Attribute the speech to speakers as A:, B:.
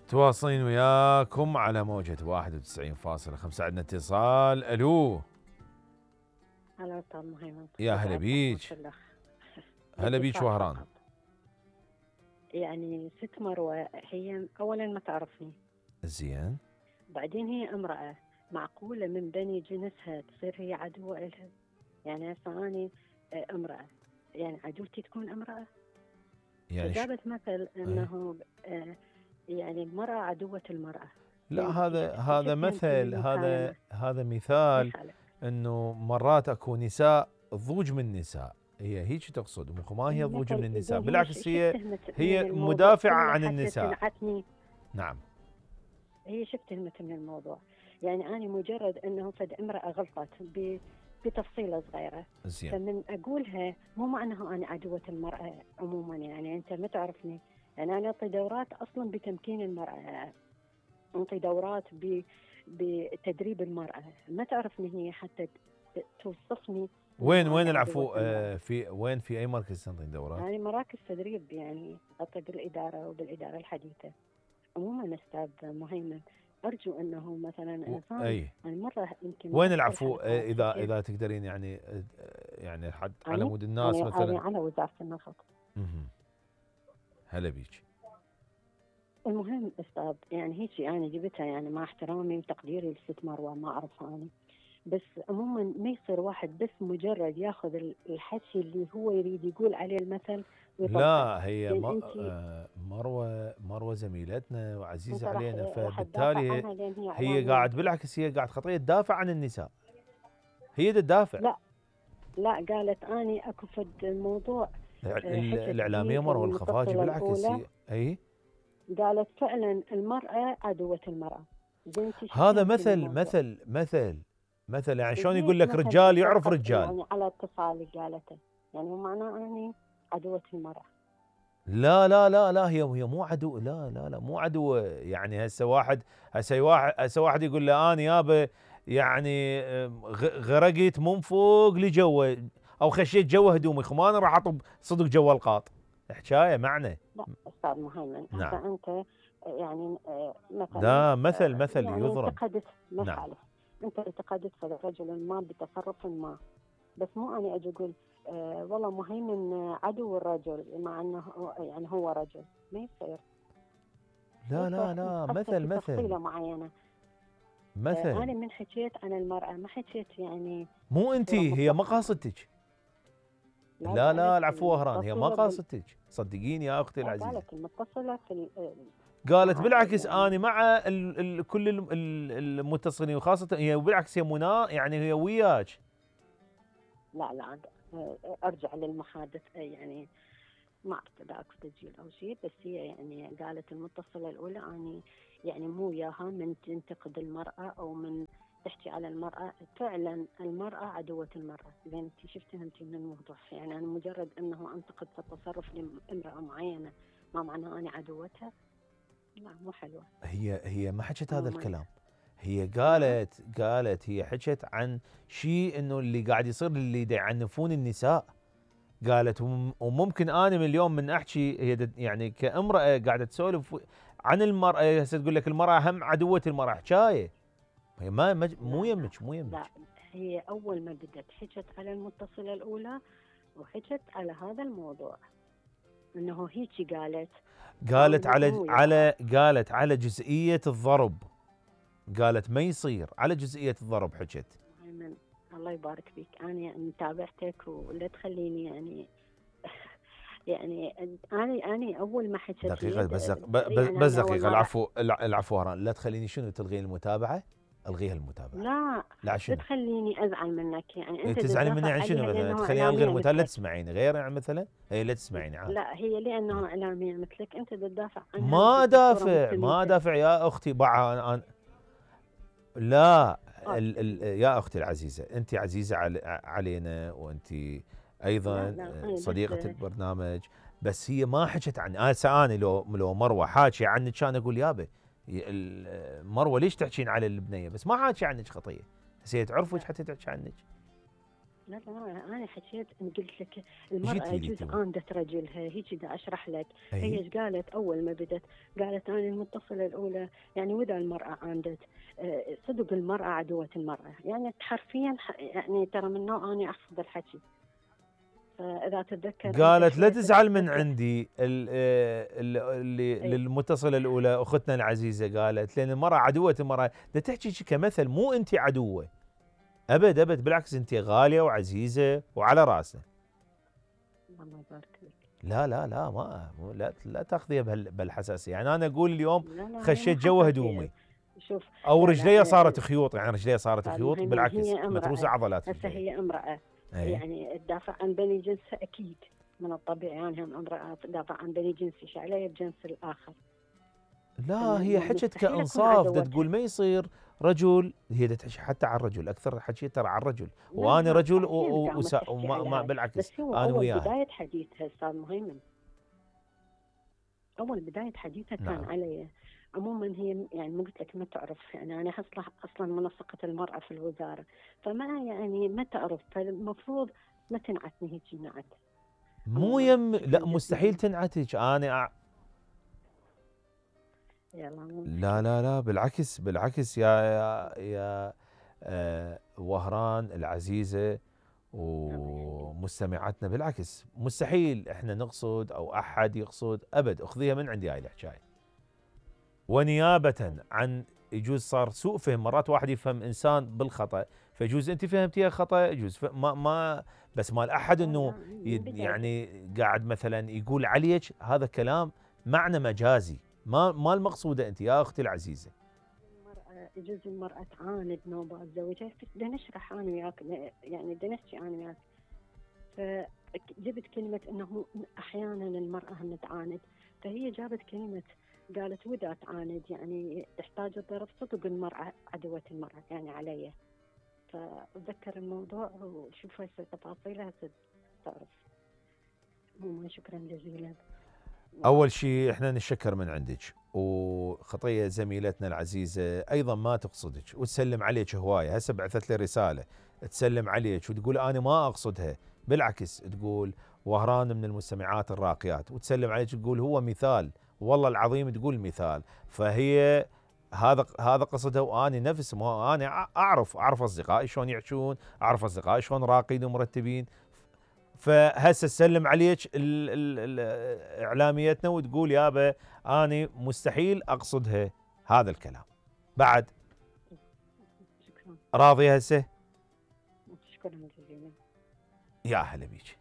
A: تواصلين وياكم على موجة 91.5. عندنا اتصال. الو.
B: هلا استاذ مهيمن.
A: يا هلا بيج. هلا بيج وهران.
B: يعني ست مروة هي اولا ما تعرفني
A: زين،
B: بعدين هي امرأة، معقولة من بني جنسها تصير هي عدوة لها؟ يعني هسه اني امرأة، يعني عدوتي تكون امرأة؟
A: يعني
B: جابت مثل انه يعني المرأة عدوة المرأة.
A: لا،
B: يعني
A: هذا مثل، هذا مثال انه مرات اكو نساء ضوج من نساء، هي هيك تقصد، ما هي ضوج من النساء، بالعكس هي مدافعة عن النساء. نعم،
B: هي شو افتهمت من الموضوع؟ يعني أنا مجرد أنه فد امرأة غلطت بتفصيلة صغيرة،
A: زين،
B: فمن أقولها مو معناها أنا عدوة المرأة عموما. يعني أنت ما تعرفني، يعني أنا أعطي دورات أصلا بتمكين المرأة، أعطي دورات بتدريب المرأة، ما تعرفني هي حتى توصفني.
A: وين العفو؟ في أي مركز تنطين دورات؟
B: يعني مراكز تدريب، يعني أعطي بالإدارة وبالإدارة الحديثة. عموما أستاذ مهيمن، أرجو أنه مثلا إنسان مرة يمكن
A: وين العفو؟ إذا تقدرين يعني حد على مود الناس مثلا.
B: على وزارة النفط.
A: هلا بيك.
B: المهم أستاذ، يعني هيك أنا جبتها، يعني مع احترامي وتقديري لست مروة، ما أعرفها أنا، بس عموما ما يصير واحد بس مجرد ياخذ الحكي اللي هو يريد يقول عليه المثل ويطلع.
A: لا، هي مروة زميلتنا وعزيزة علينا، فبالتالي هي قاعد بالعكس، هي قاعد خطية تدافع عن النساء، هي تدافع.
B: لا قالت اني اكو فد الموضوع
A: الاعلاميه مروه الخفاجي بالعكس هي
B: قالت فعلا المراه عدوه المراه.
A: هذا مثل يعني شلون يقول لك رجال يعرف رجال،
B: يعني على اتصالي قالته، يعني معناه اني عدوه المراه.
A: لا هي مو عدو، لا مو عدو. يعني هسه واحد يقول له انا يابا يعني غرقت من فوق لجوا او خشيت جوا هدومي، انا راح اطب صدق جوا القاط، حكايه معنى.
B: لا استاذ مهيمن،
A: نعم.
B: انت يعني مثلا
A: ده مثل
B: يعني
A: يضرب.
B: انتقدت
A: نعم.
B: انت انتقدت رجل ما بتصرف ما، بس مو انا اجي اقول والله مهيمن عدو الرجل مع انه يعني هو رجل، ما يصير.
A: لا مثل
B: تفصيله معينه. انا من حكيت عن المراه ما حكيت يعني
A: مو انت، هي ما قاصدتك. لا العفو وهران، هي ما قاصدتك، صدقيني يا اختي العزيزه.
B: قالت المتصله في
A: قالت بالعكس يعني انا مع كل المتصلين، وخاصه هي بالعكس هي يعني هي وياك.
B: لا ارجع للمحادث، يعني ما اعرف اذا اكو تسجيل او شيء، بس هي يعني قالت المتصله الاولى اني يعني مو وياها من تنتقد المراه او من تحكي على المراه، فعلا المراه عدوه المراه. لان انت شو فهمتي من الموضوع؟ يعني انا مجرد انه انتقد في التصرف لامراه معينه ما معناه اني عدوتها؟ لا مو حلوه.
A: هي ما حكت هذا الكلام، هي قالت هي حكت عن شيء انه اللي قاعد يصير اللي يعنفون النساء. قالت وممكن انا من اليوم من احكي، هي يعني كامراه قاعده تسولف عن المراه، هسه تقول لك المراه هم عدوه المراه، حكايه هي مو يمك.
B: لا هي اول ما بدت حكت على المتصله الاولى وحكت على هذا الموضوع، انه هيك
A: قالت على جزئيه الضرب، قالت ما يصير على جزئيه الضرب حكت.
B: الله يبارك فيك، انا متابعتك ولا تخليني يعني انا اول ما حكيت
A: دقيقه بس دقيقه. العفو هران، لا تخليني شنو تلغين المتابعه؟ الغيها المتابعه.
B: لا تخليني ازعل منك، يعني انت
A: تزعلين مني عن شنو مثلا؟ تخليني الغي المتابعه؟ لا تسمعيني غير يعني مثلا، هي لا تسمعيني عادي.
B: لا هي لانه اعلاميه مثلك انت تدافع عنها.
A: ما دافع يا اختي أنا لا يا اختي العزيزه، انت عزيزه علينا، وانت ايضا صديقه البرنامج، بس هي ما حكت عني. انا لو مروه حاكي عنك كان اقول يابا مروه ليش تحكين على البنيه، بس ما حاكي عنك خطيه، هسه تعرفك حتى تحكي عنك.
B: لا انا حكيت ان قلت لك
A: ايش
B: المراه
A: قلتي لي
B: يجوز
A: تو؟
B: عاندت رجلها، هيك دا اشرح لك. هي
A: اي
B: ايش قالت اول ما بدت؟ قالت انا المتصله الاولى يعني واذا المراه عاندت صدق المراه عدوه المراه، يعني حرفيا يعني ترى من نوع اني احفظ الحكي. فاذا تتذكر انت
A: قالت لا
B: شويه
A: تزعل من
B: تتذكر.
A: عندي اللي
B: اي
A: للمتصله الاولى اختنا العزيزه، قالت لان المراه عدوه المراه، دا تحكي شي كمثل، مو انت عدوه، ابد ابد، بالعكس انت غاليه وعزيزه وعلى راسنا.
B: الله يبارك لك.
A: لا لا لا ما لا تاخذيها بهالحساسيه، يعني انا اقول اليوم
B: لا هي مو
A: خشيت جوا
B: حساسيه.
A: هدومي
B: شوف.
A: او
B: لا لا
A: رجلي صارت خيوط، يعني رجلي صارت خيوط،
B: المهم ان
A: بالعكس
B: هي
A: متروسه
B: امراه.
A: عضلات
B: هسه
A: رجلي.
B: هي امراه،
A: اي
B: يعني تدافع عن بني جنسها اكيد، من الطبيعي يعني هم امراه تدافع عن بني جنسي، ايش علي بجنس الاخر؟
A: لا هي حكت
B: مستحيل اكون
A: كانصاف، دا
B: عدوتها.
A: تقول ما يصير رجل، هي دا تحكي حتى على الرجل اكثر، حكي ترى على الرجل،
B: لا
A: وانا رجل
B: بعدين قامت تحكي
A: وما
B: على
A: ما
B: هاي.
A: بالعكس
B: بس هو
A: انا
B: اول
A: وياها.
B: بدايه حديثها استاذ مهيمن، اول بدايه حديثها كان
A: نعم
B: علي. عموما هي يعني ما قلت لك ما تعرف، يعني انا اصلا منسقه المراه في الوزاره، فما يعني ما تعرف، فالمفروض ما تنعتني هيك نعت.
A: مو
B: عموما
A: يم،
B: شكرا
A: لا مستحيل
B: جزيلا.
A: تنعتج انا
B: يلا مو
A: لا
B: مشكله.
A: لا لا بالعكس بالعكس يا وهران العزيزة
B: الله يخليك.
A: ومستمعاتنا، بالعكس مستحيل احنا نقصد او احد يقصد ابد، اخذيها من عندي هاي الحكايه. ونيابة عن يجوز صار سوء فهم، مرات واحد يفهم انسان بالخطا، فيجوز انت فهمتيها خطا، يجوز ما بس مال احد
B: لا
A: انه
B: من بدايه
A: يعني قاعد مثلا يقول عليك هذا كلام معنى مجازي، ما المقصوده انت يا اختي العزيزه.
B: المرأة يجوز المرأة تعاند نوبات زوجها، بدنا نشرح أنا وياك، يعني بدنا نحكي أنا وياك. فجبت كلمة أنه أحيانا المرأة هم تعاند، فهي جابت كلمة قالت وإذا تعاند يعني تحتاج الضرب، صدق المرأة عدوة المرأة يعني علي. فأتذكر الموضوع وشوف هسه تفاصيلها هسه تعرف. عموما شكرا جزيلا.
A: اول شيء احنا نشكر من عندك، وخطيه زميلتنا العزيزه ايضا ما تقصدك وتسلم عليك هوايه، هسه بعثت لي رساله تسلم عليك وتقول انا ما اقصدها، بالعكس تقول وهران من المستمعات الراقيات، وتسلم عليك تقول هو مثال، والله العظيم تقول مثال، فهي هذا قصدها، واني نفس ما انا اعرف اصدقائي شلون يعيشون، اعرف اصدقائي شلون راقين ومرتبين، فهسه تسلم عليك اعلاميتنا وتقول يابا اني مستحيل اقصدها هذا الكلام. بعد
B: شكرا.
A: راضيه هسه؟
B: شكرا جزيلا.
A: يا اهلا بيك.